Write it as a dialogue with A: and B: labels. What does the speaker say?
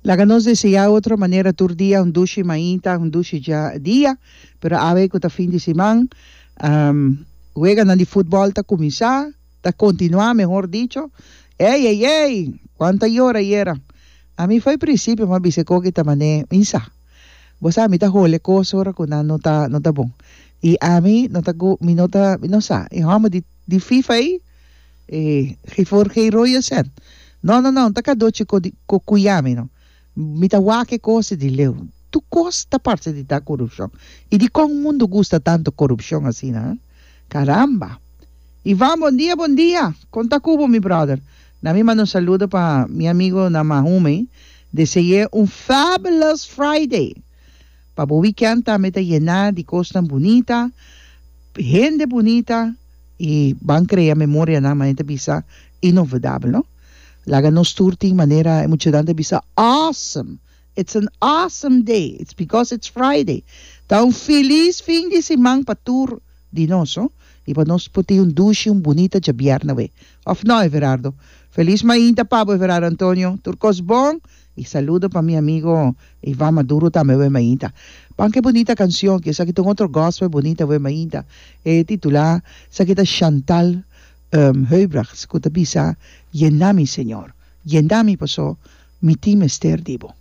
A: Laga nos deseá otro manera tur dia un dushi mainta, un dushi dja dia, pero awe ku ta fin di siman, weganan di futbòl ta kuminsá, ta kontinuá mehor dicho. Ey ey ey! Kuanta yora ayera! Ami fo'i prinsipio mi a bisa e koki ta man'é insa. Bo sa mi ta hole kos ora ku nan no ta no ta bon. I ami no ta gu mi no ta mi no sa e hòmber di di FIFA ei e ge voor geen rode cent. No no no ta kadochi ko di ko kuya mi no. Mi ta wak e kos di leu. Tur kos ta parse di ta korupshon. I dikon mundu gusta tantu korupshon asina ha? Karamba! Ivan bon dia bon dia! Kon ta ku bo mi brother? Na mi manda un saludo pa mi amigo na Mahume, dese'é un fabulous Friday! Pa bo weekend tambe ta yená di kosnan bunita, hende bunita i ban krea memorianan manera ta bisa inolvidabel no. Laga nos tur tin manera e muchanan ta bisa awesome! It's an awesome day, it's because it's Friday. Ta un felis fin di siman pa tur di nos no i pa nos por tin un dushi un bunita djabièrnè awe. Òf no Everardo? Felis mainta pa bo Everardo Antonio, tur kos bon i saludo pa mi amigo Ivan Maduro tambe awe mainta. Ban ke bunita kansion aki, esaki ta un otro gospel bunita awe mainta. E titulá esaki ta Chantal Huybrechts ku ta bisa Yena mi Señor, yena mi paso mi tin mester di bo.